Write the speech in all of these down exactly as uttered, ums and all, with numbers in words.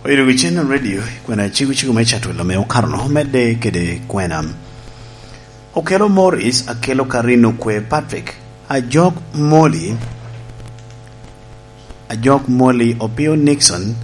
Obedo wi Channel Radio, kwena cego cego me catwelo me okarono, medde kede kwena. Okelo Morris, Akelo Karin Okwe Patrick, Ajok Moli, Ajok Moli Opio Nixon,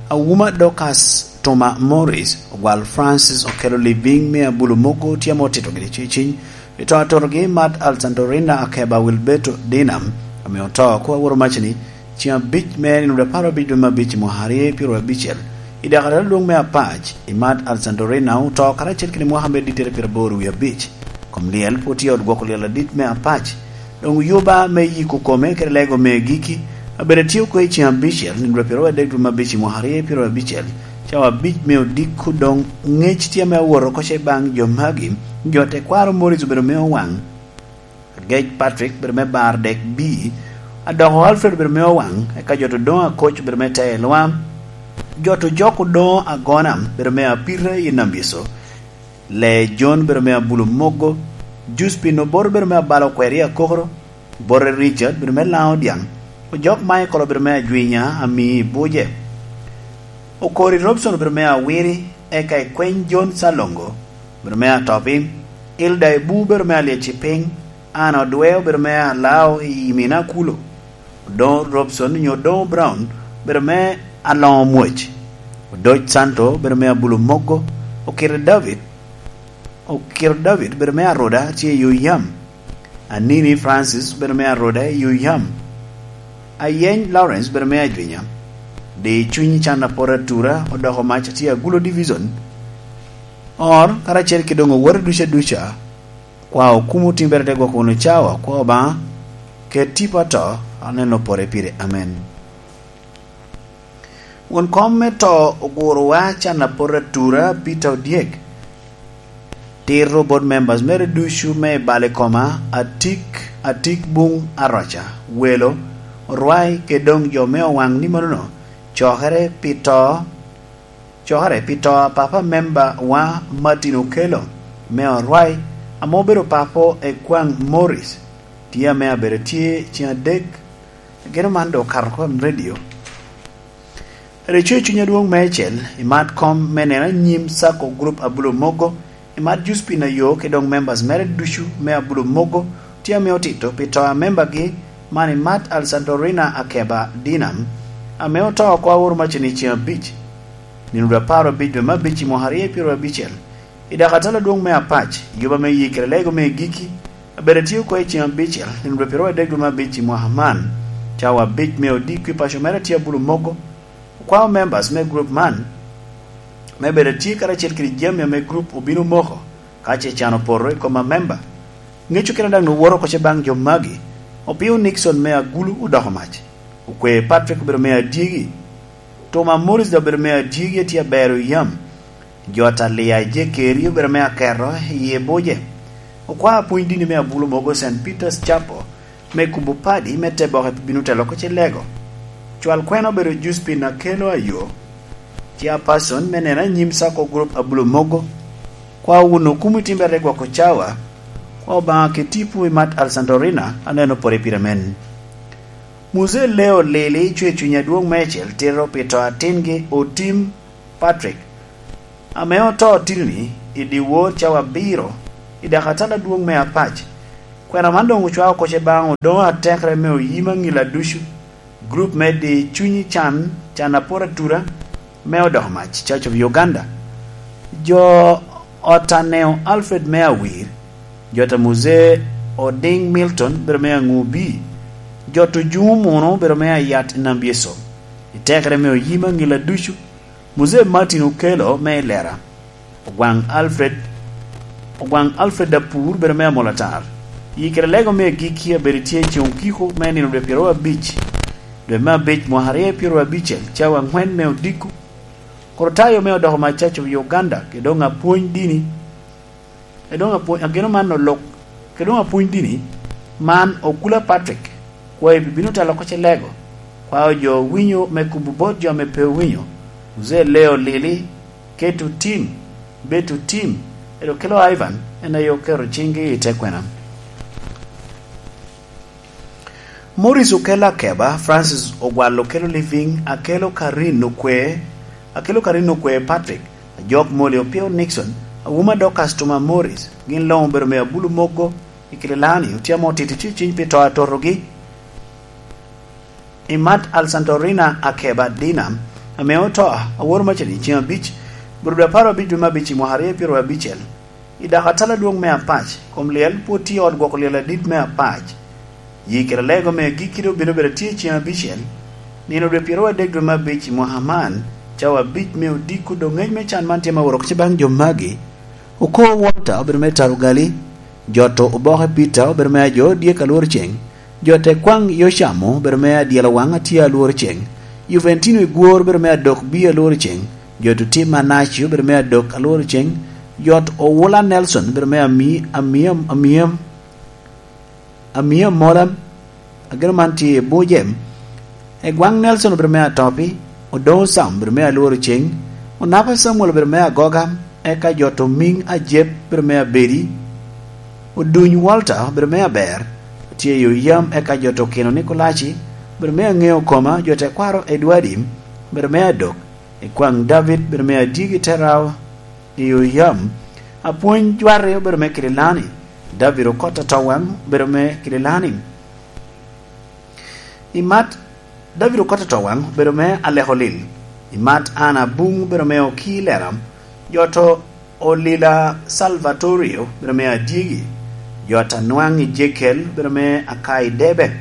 Awuma Dorcas Toma Morris, Ogwal Francis Okelo Living me Abulu Mogo tye ame otito gini ciciny, i to atotogi Mat Alexandrina Akeba Wilberto Dinam, ame oto ko aworo macni, Ceng abic me nino apar abic dwe me abic i mwaka aryo pyero abicel, i dakatala lwong me Apac, i Mat Alexandrina oto karacel kede mwaka me dittere pyero aboro wie abic. Kom lyel pwod tye i ot gwoko lyel adit me Apac. Doŋ oyuba me yiko kome kede lego me giki, abedo tye oko i ceng abicel, nino pyero adek dwe me abic i mwaka aryo pyero abicel, cawa abic me odiko doŋ ŋec tye ame awot oko ce baŋ jo magi, jo tekwaro Morris obedo me owaŋ. Agec Patrick obedo me bar dek bi, Adoko Alfred obedo me owaŋ, eka jo to doŋ Akoc obedo me telo lwam. Jo to jok odoŋo agona obedo me apita i Nambyeco. Le John obedo me Abulu Mogo, Juspin Obor obedo me abalo kweri akokoro, Borre Richard obedo me laŋo dyaŋ, Ojok Michael obedo me ajwinya ami i buce. Okori Robson obedo me awiri, eka i kweny John Salongo obedo me atopi, Ilda Ebu obedo me alyec i piny, An Odwe obedo me alao i mina kulo, Odoŋo Robson nyo Odoŋo Brown obedo me aloŋo mwoc, Odoc Santo obedo me Abulu Mogo, Okiro David, Okiro David obedo me aroda tye i yo yam, Anini Francis obedo me aroda i yo yam, Ayeny Lawrence obedo me ajwinya, Di Cwiny Can Apor Atura odoko mac tye Agulo Division, Or karacel ki doŋ owote duca duca, kwa okumo timbere te gwoko wunu cawa, kwa Obaŋa, ket tipo ato, aneno pore pire. Amen. Won kom me to ogurowa can apot atura Peter Odyek. Tito bot members mere ducu me i bal i koma, atik, atik buŋ aroca, welo, orwai, kede doŋ jo me owaŋ ni manono, cokere pi to, cokere pi to a papa member wa Martin Okello me orwai, ame obedo papo i kwaŋ Morris, tye ame abedo tye ceng adek. Geno man doŋ okato oko i redio. Reco i Cuny Adwoŋ Meicel, i mat kom me neno anyim Sacco Group Abulo Mogo, i mat Juspin Ayo ki doŋ members mere ducu me Abulo Mogo, tye ame otito pi to a membagi, man i mat Alexandrina Akeba Dinam, ame oto oko aworo macini ceng abic, nino dwe apar abic dwe me abic i mwaka aryo pyero abicel. I dakatala adwoŋ me Apac, yuba me yikere lego me giki, abedo tye oko i ceng abicel, nino dwe pyero adek dwe me abic i mwaka man, cawa abic me odiko i paco mere tye Abulo Mogo, okwao members me group man, me bedo tye karacel kede jami ame group obino moko, ka ce can opoto i kom amemba. Ŋeco kene daŋ owoto oko ce baŋ jo magi, Opio Nixon me Agulu odoko mac, Okwe Patrick obedo me adyegi, Toma Morris daŋ obedo me adyegi a tye abero i yam, jo Atalia i Jekeri obedo me aketo i Ebuje, okwao apwony dini me Abulo Mogo Saint Peter's Chapel, me kubo padi me te boke pi bino telo oko ce lego. Cwal kwena obedo Juspin Akelo Ayo, chairperson me neno anyim Sacco Group Abulo Mogo, kwa wun okumo i timbere gwoko cawa, kwa Obaŋa ki tipo i mat Alexandrina aneno pore pire men. Muzee Leo Lili cwe cuny adwoŋ meicel tito pi to atingi Otim Patrick, ame oto titini i dyewor cawa abiro i dakatala adwoŋ me Apac. Kwena man doŋ ocwao oko ce baŋ odoŋo atekere me oyim aŋila ducu, group me Di Cunyi Can, Can Apot Atura, me odoko mac, Church of Uganda. Jo ot Aneo Alfred me Awir, jo ta Muzee Oding Milton bedo me Aŋubi, jo ta Ojuŋo Muno bedo me Ayat i Nambyeso, i tekere me oyim aŋila ducu, Muzee Martin Okello me Ilera, Ogwaŋ Alfred, Ogwaŋ Alfred Apur bedo me Amolatar. Yikere lego me gikki abedo tye i ceŋ okiko me nino dwe pyero abic, dwe me abic mwaka aryo pyero abicel, cawa aŋwen me odiko. Korotayo me odoko mac Church of Uganda, kede doŋ apwony dini, kede doŋ apwony, ageno man olok, kede doŋ apwony dini, man Okula Patrick, kwa ibibino telo oko ce lego, kwa ojo owinyo me kubo bot jo ame pe owinyo, Muzee Leo Lili, Keto Tim, Beto Tim, ero kelo Ivan, en aye oketo ciŋgi i te kwena. Morris Okello Akeba, Francis Ogwal Okello Living, Akello Karin Okwe, Akelo Karino Kwe Patrick, Ajok Moli Opio Nixon, Awuma Dorcas Tuma Morris, gin luŋ obedo me Abulu Mogo i Kililani, otye ame otito tye ciny pi to atotogi. Imat Alsantorina Akeba Dina, ame oto aworo macani ceŋ abic, bur dwe apar abic dwe me abic i mwaka aryo pyero abicel. I dako atala adwoŋ me Apac, kom lyel pwod tye i ot gwoko lyel adit me Apac. Yi kede lego me agikki doŋ obino bedo tye i ceŋ abicel, nino dwe pyero adek dwe me abic i mwaka man, cawa abic me odiko doŋ ngec me can man tye ma woro kica baŋ jo magi. Oko Walter obedo me Tarugali, Joto Oboke Peter obedo me ajo dyek alworo ceŋ, Joto Ekwaŋ Yocamo obedo me adyelo waŋ atye alworo ceŋ, Juventino Igwor obedo me adok bi alworo ceŋ, Joto Tim Manaci obedo me adok alworo ceŋ, Jot Owula Nelson obedo me ami, ami, ami, ami amola, ageno man tye i Bujem. Egwaŋ Nelson obedo me atopi, Odoŋo Sam obedo me alworo ceŋ, Onapa Samuel obedo me agoga, eka Joto Miŋ Ajep obedo me abedi, Oduny Walter obedo me aber, tye i Oyam, eka Joto Okino Nikolaci obedo me aŋeo koma, Joto Ekwaro Edwadi obedo me adok, Ekwaŋ David obedo me adyegi te rawo i Oyam, Apwony Jwari obedo me Kililani, David Okot Atowaŋ obedo me Kililani. Imat David Okot Atowaŋ obedo me Aleko Lil. Imat Ana Buŋ obedo me Oki Lera. Joto Olila Salvatorio obedo me Adyegi. Jot Anwaŋ Ejekiel obedo me Akai Debe.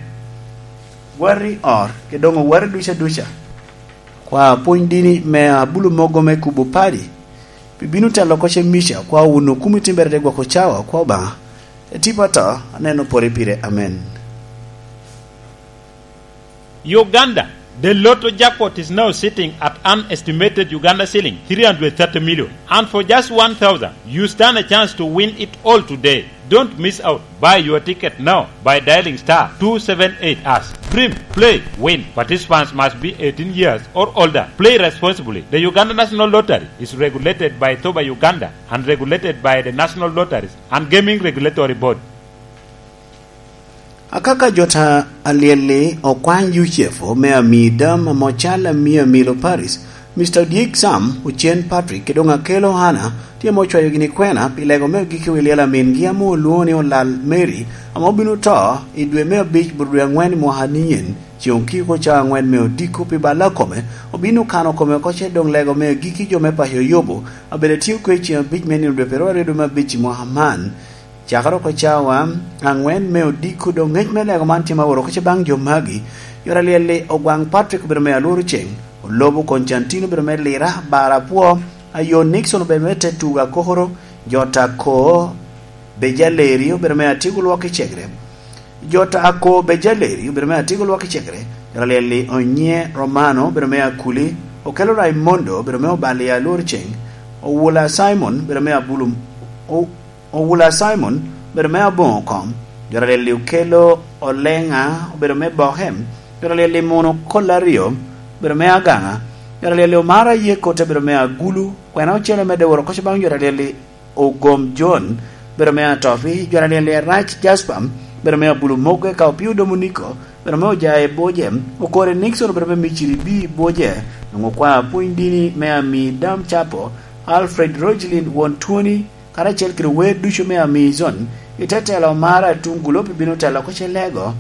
Wari or, ke doŋ owari duca duca. Kwa pwony dini me Abulu Mogo me Kubo Padi. Pi bino telo oko ce Mica, kwa wun okumi timbere te gwoko cawa, kwa Obaŋa. E tipo ato, aneno pore pire. Amen. Uganda, the lotto jackpot is now sitting at an estimated Uganda shilling three hundred thirty million. And for just one thousand, you stand a chance to win it all today. Don't miss out. Buy your ticket now by dialing star two seven eight hash. Dream, play, win. Participants must be eighteen years or older. Play responsibly. The Uganda National Lottery is regulated by Thoba Uganda and regulated by the National Lotteries and Gaming Regulatory Board. Akaka jota alyelli okwany Yucef me ami dam amo cal ami amilo Paris, Mister Odyek Sam, Ocen Patrick, kede doŋ Akelo Hana, tye ame ocwayo gini kwena pi lego me ogikki wi lyel amingi ame olwoŋo ni Olal Mary, ame obino to i dwe me abic bur dwe aŋwen i mwaka ni nyen, ceŋ okiko ca aŋwen me odiko pi balla kome, obino kano kome oko ce doŋ lego me agikki jo me paco Yobo, abedo tye okwe ceŋ abic me nino dwe pero aryo dwe me abic i mwaka man. Cakere oko cawa aŋwen me odiko doŋ ngec me lego man tye ma woro kica baŋ jo magi. Yot alyelli Ogwaŋ Patrick obedo me alworo ceŋ, Olobo Koncantin obedo me lira, bara apwo, Ayo Nixon obedo me te tugo akokoro, Jota Ko Bejaleri obedo me atyeko lwok i cegere. Jota Ko Bejaleri obedo me atyeko lwok i cegere. Yot alyelli Onye Romano obedo me akuli, Okelo Raimondo obedo me obali alworo ceŋ, Owula Simon obedo me abulu, o-, Owula Simon obedo me aboŋo kom, jot alyelli Okelo Oleŋa obedo me boke, jot alyelli Muno Kol Aryo obedo me agaŋa, jot alyelli Omara Yeko te bedo me agulu, kwena ocele medde woro koco baŋ jot alyelli Ogom John obedo me atopi, jot alyelli Arac Jasper obedo me abulu mogo, eka Opio Domoniko obedo me ojaye boje, Okore Nixon obedo me miciri bi boje, nwoŋo kwa pwony dini me ami dam capo, Alfred Rogelin won twoni, karacel kede wer ducu me Amazon, i te telo mara Tungulop ibino telo oko ce lego,